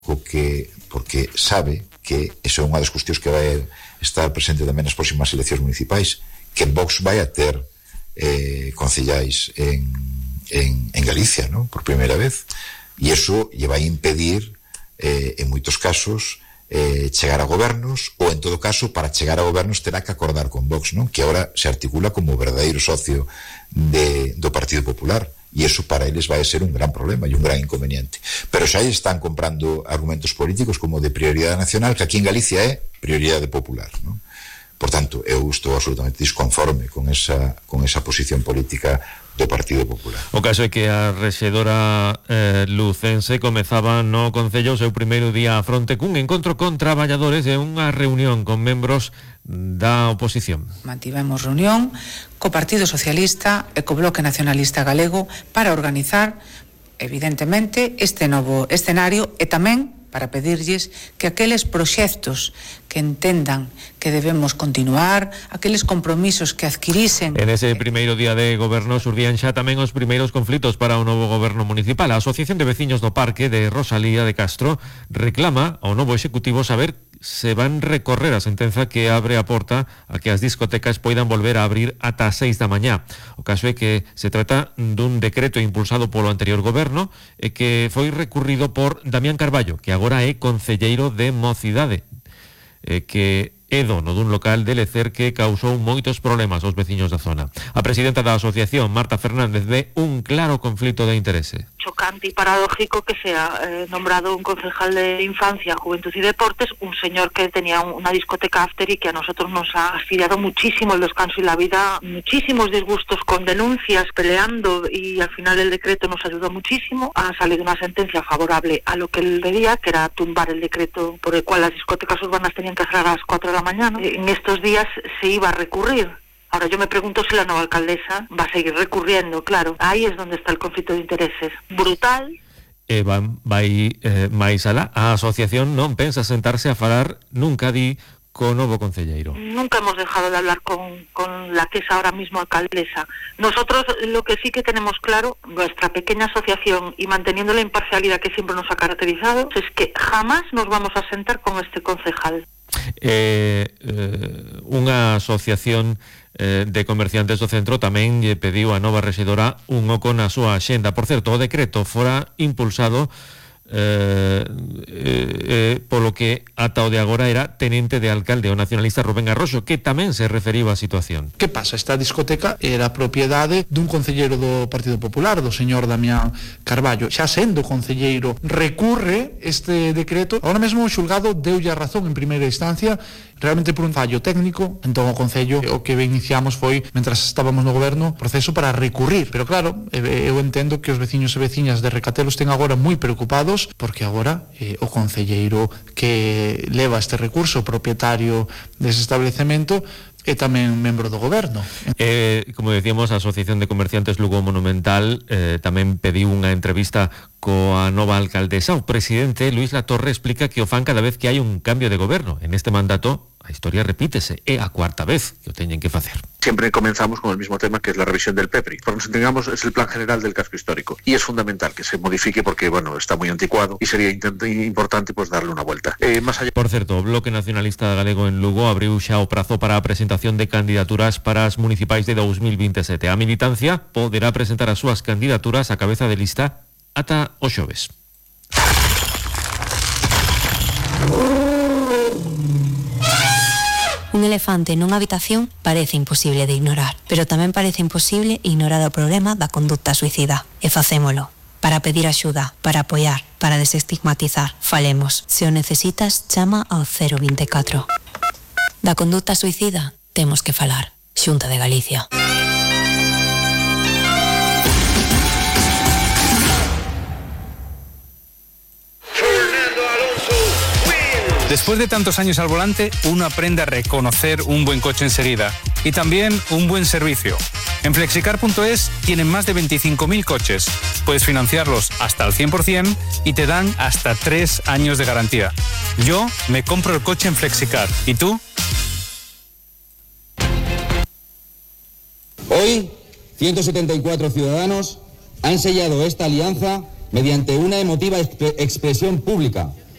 porque sabe que esa é unha das cuestións que vai estar presente tamén nas próximas eleccións municipais, que Vox vai a ter concellais en Galicia, ¿no? Por primeira vez, e iso lle vai impedir en moitos casos chegar a gobernos, ou en todo caso para chegar a gobernos terá que acordar con Vox, ¿no? Que agora se articula como verdadeiro socio do Partido Popular, e iso para eles vai a ser un gran problema e un gran inconveniente. Pero xa están comprando argumentos políticos como de prioridade nacional, que aquí en Galicia é prioridade popular, ¿no? Por tanto, eu estou absolutamente disconforme con esa posición política do Partido Popular. O caso é que a rexedora lucense comezaba no Concello o seu primeiro día a fronte cun encontro con traballadores e unha reunión con membros da oposición. Mantivemos reunión co Partido Socialista e co Bloque Nacionalista Galego para organizar, evidentemente, este novo escenario e tamén para pedirlles que aqueles proxectos que entendan que debemos continuar, aqueles compromisos que adquirisen... En ese primeiro día de goberno xurdían xa tamén os primeiros conflitos para o novo goberno municipal. A Asociación de Veciños do Parque de Rosalía de Castro reclama ao novo executivo saber se van recorrer a sentenza que abre a porta a que as discotecas poidan volver a abrir ata as 6 da mañá. O caso é que se trata dun decreto impulsado polo anterior goberno e que foi recurrido por Damián Carballo, que agora é concelleiro de Mocidade, que é dono dun local de Lecer que causou moitos problemas aos veciños da zona. A presidenta da asociación, Marta Fernández, ve un claro conflito de interese. Chocante y paradójico que sea nombrado un concejal de Infancia, Juventud y Deportes, un señor que tenía una discoteca after y que a nosotros nos ha fastidiado muchísimo el descanso y la vida, muchísimos disgustos con denuncias, peleando, y al final el decreto nos ayudó muchísimo. Ha salido una sentencia favorable a lo que él pedía, que era tumbar el decreto por el cual las discotecas urbanas tenían que cerrar a las 4 de la mañana. En estos días se iba a recurrir. Ahora yo me pregunto si la nueva alcaldesa va a seguir recurriendo, claro. Ahí es donde está el conflicto de intereses. Brutal. Vai máis alá. A asociación non pensa sentarse a falar nunca di co novo concelleiro. Nunca hemos dejado de hablar con la que es ahora mismo alcaldesa. Nosotros lo que sí que tenemos claro, nuestra pequeña asociación, y manteniendo la imparcialidad que siempre nos ha caracterizado, es que jamás nos vamos a sentar con este concejal. Unha asociación de comerciantes do centro tamén lle pediu a nova rexedora un oco na súa axenda. Por certo, o decreto fora impulsado polo que ata o de agora era tenente de alcalde o nacionalista Rubén Arroxo, que tamén se referiba á situación. Que pasa? Esta discoteca era propiedade dun concelleiro do Partido Popular, do señor Damián Carballo. Xa sendo concelleiro, recurre este decreto. Ahora mesmo o xulgado deulle a razón en primeira instancia, realmente por un fallo técnico. Entón o Concello o que iniciamos foi, mentras estábamos no goberno, proceso para recurrir. Pero claro, eu entendo que os veciños e veciñas de Recatelo estén agora moi preocupados, porque agora o concelleiro que leva este recurso, propietario dese establecemento, é tamén membro do goberno. Como decíamos, a Asociación de Comerciantes Lugo Monumental tamén pediu unha entrevista coa nova alcaldesa. O presidente Luis Latorre explica que o fan cada vez que hai un cambio de goberno. En este mandato a historia repítese, é a cuarta vez que o teñen que facer. Siempre comenzamos con el mismo tema, que es la revisión del PEPRI. Por nos entendamos, es el plan general del casco histórico, y es fundamental que se modifique porque, bueno, está muy anticuado y sería importante pues darle una vuelta. Más allá... Por certo, o Bloque Nacionalista Galego en Lugo abriu xa o prazo para a presentación de candidaturas para as municipais de 2027. A militancia poderá presentar as súas candidaturas a cabeza de lista ata o xoves. Un elefante nunha habitación parece imposible de ignorar, pero tamén parece imposible ignorar o problema da conducta suicida. E facémolo. Para pedir axuda, para apoiar, para desestigmatizar. Falemos. Se o necesitas, chama ao 024. Da conducta suicida temos que falar. Xunta de Galicia. Después de tantos años al volante, uno aprende a reconocer un buen coche enseguida y también un buen servicio. En Flexicar.es tienen más de 25.000 coches. Puedes financiarlos hasta el 100% y te dan hasta 3 años de garantía. Yo me compro el coche en Flexicar. ¿Y tú? Hoy, 174 ciudadanos han sellado esta alianza mediante una emotiva expresión pública